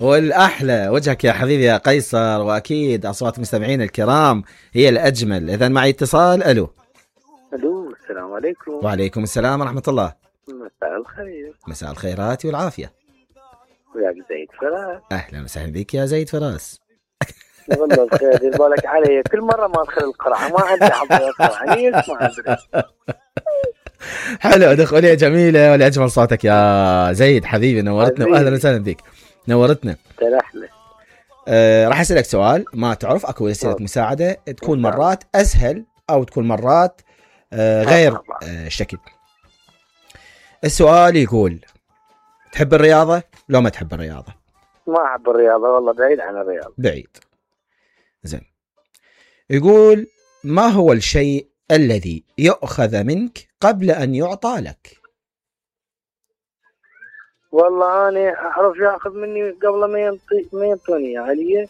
والأحلى وجهك يا حبيبي يا قيصر، وأكيد أصوات مستمعين الكرام هي الأجمل. إذن معي اتصال. ألو. ألو، السلام عليكم. وعليكم السلام ورحمة الله. مساء الخير. مساء الخيرات والعافية. ويا زيد فراس. أهلا وسهلا بك يا زيد فراس. والله بخير، دير بالك علي كل مرة ما أدخل القرعة ما عندي حظ القرعة، ما أدري. حلو، دخولية جميلة ولأجمل صوتك يا زيد حبيبي، نورتنا وأهلا وسهلا بك، نورتنا. ترحلة. راح أسألك سؤال ما تعرف، أكو وسيلة مساعدة تكون مرات أسهل أو تكون مرات غير شكل. السؤال يقول تحب الرياضة؟ لو ما تحب الرياضة؟ ما أحب الرياضة والله، بعيد عن الرياضة. بعيد. زين. يقول ما هو الشيء الذي يؤخذ منك قبل أن يعطى لك؟ والله أنا أعرف يأخذ مني قبل ما ينطوني عليه،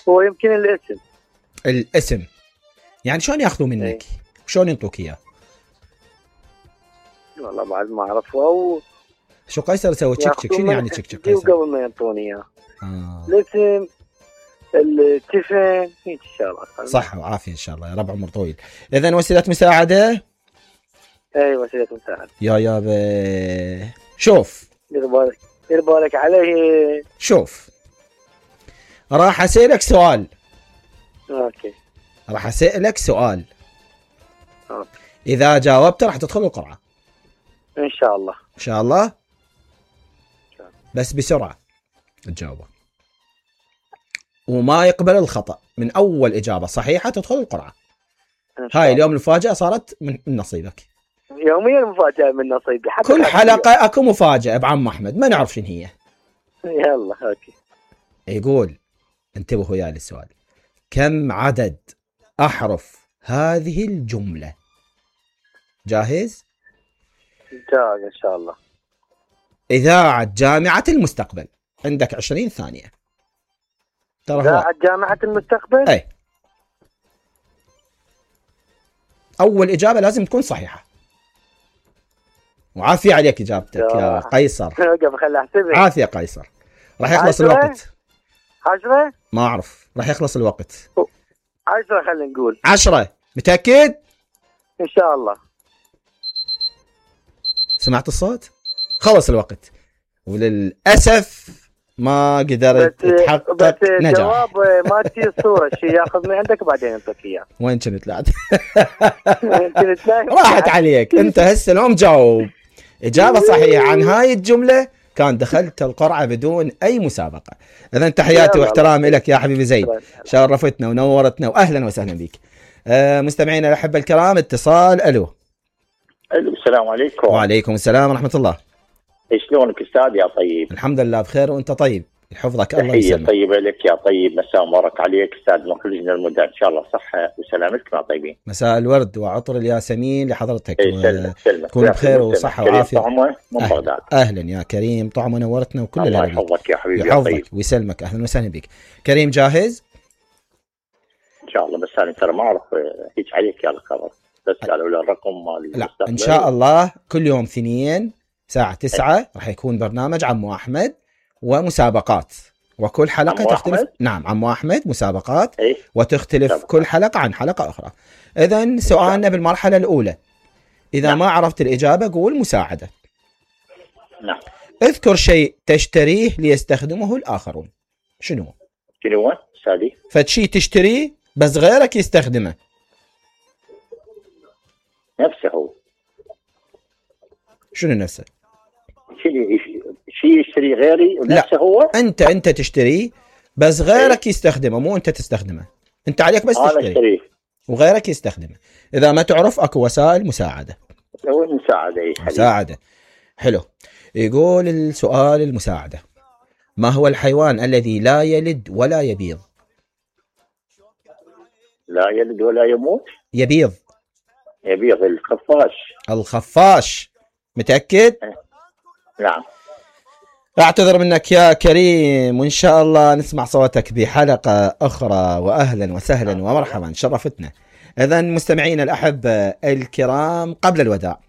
هو يمكن الاسم. الاسم يعني شلون يأخذوا منك؟ شلون ينطوك إياه؟ والله بعد ما أعرفه. شو قيصر سوى تشك تشك؟ شنو يعني تشك تشك قيصر؟ قبل ما ينطوني إياه. الاسم، التفن، هيك الشغلات. صح وعافية إن شاء الله يا رب، عمر طويل. إذن وسيلة مساعدة. أي وسيلة مساعدة. يا شوف. دير بالك عليه. شوف، راح أسألك سؤال. أوكي. راح أسألك سؤال. أوكي. إذا جاوبت راح تدخل القرعة. إن شاء الله. إن شاء الله. بس بسرعة تجاوبه، وما يقبل الخطأ. من أول إجابة صحيحة تدخل القرعة. هاي اليوم المفاجأة صارت من نصيبك. يوميا مفاجأة من نصيبي. كل حلقة أكو مفاجأة بعم أحمد، ما نعرف شنو هي. يلا أوكي. يقول انتبهوا يا للسؤال، كم عدد أحرف هذه الجملة؟ جاهز؟ جاهز إن شاء الله. إذاعة جامعة المستقبل، عندك 20 ثانية. إذاعة جامعة المستقبل؟ أي. أول إجابة لازم تكون صحيحة. وعافية عليك إجابتك يا قيصر. عافية قيصر. راح يخلص الوقت. 10؟ ما أعرف، راح يخلص الوقت. 10 خلينا نقول. 10 متأكد؟ إن شاء الله. سمعت الصوت؟ خلص الوقت، وللأسف ما قدرت تحقق نجاح. جواب ما تجي الصورة، شيء ياخذ من عندك بعدين ينطيك اياه. وين كنت لعب؟ راحت عليك. انت هسه اليوم جاوب إجابة صحيحة عن هاي الجملة كان دخلت القرعة بدون أي مسابقة. إذن تحياتي واحترامي لك يا حبيبي زيد، شرفتنا ونورتنا وأهلا وسهلا بك. مستمعينا الأحبة الكرام، اتصال. ألو. السلام عليكم. وعليكم السلام ورحمة الله. شلونك أستاذ يا طيب؟ الحمد لله بخير، وأنت طيب؟ يحفظك الله يسلمك. طيبة لك يا طيب، مساء مبارك عليك أستاذ مخرجنا المدة، إن شاء الله صحة وسلامتكم يا طيبين. مساء الورد وعطر الياسمين لحضرتك، تكون بخير وصحة وعافية. أهلا يا كريم، طعمه نورتنا وكل الله يحفظك يا حبيبي. يحفظك ويسلمك، أهلا وسهلا بك كريم. جاهز؟ إن شاء الله، بس أنا ترى ما أعرف هيك عليك يا الخبر، بس قالوا لي الرقم مال. لا إن شاء الله كل يوم اثنين الساعة 9 راح يكون برنامج عمو أحمد ومسابقات، وكل حلقة تختلف. نعم عمو أحمد مسابقات وتختلف كل حلقة عن حلقة أخرى. إذن سؤالنا بالمرحلة الأولى، إذا ما عرفت الإجابة قول مساعدة. نعم. اذكر شيء تشتريه ليستخدمه الآخرون. شنو سادي؟ فشي تشتريه بس غيرك يستخدمه. نفسه هو. شنو نفسه؟ شيء يشتري غيري ونفسه هو. انت تشتريه بس غيرك يستخدمه، مو انت تستخدمه. انت عليك بس تشتري وغيرك يستخدمه. اذا ما تعرف اكو وسائل مساعده. مساعده. حلو. يقول السؤال المساعده، ما هو الحيوان الذي لا يلد ولا يبيض؟ لا يلد ولا يموت. يبيض. الخفاش. متأكد؟ نعم. أعتذر منك يا كريم، وإن شاء الله نسمع صوتك بحلقة أخرى، وأهلا وسهلا ومرحبا، شرفتنا. إذن مستمعين الأحبة الكرام، قبل الوداع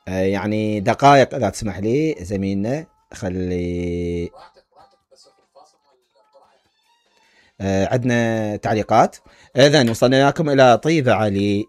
يعني دقائق إذا تسمح لي زميلنا، خلي عندنا تعليقات. إذن وصلنا لكم إلى طيبة علي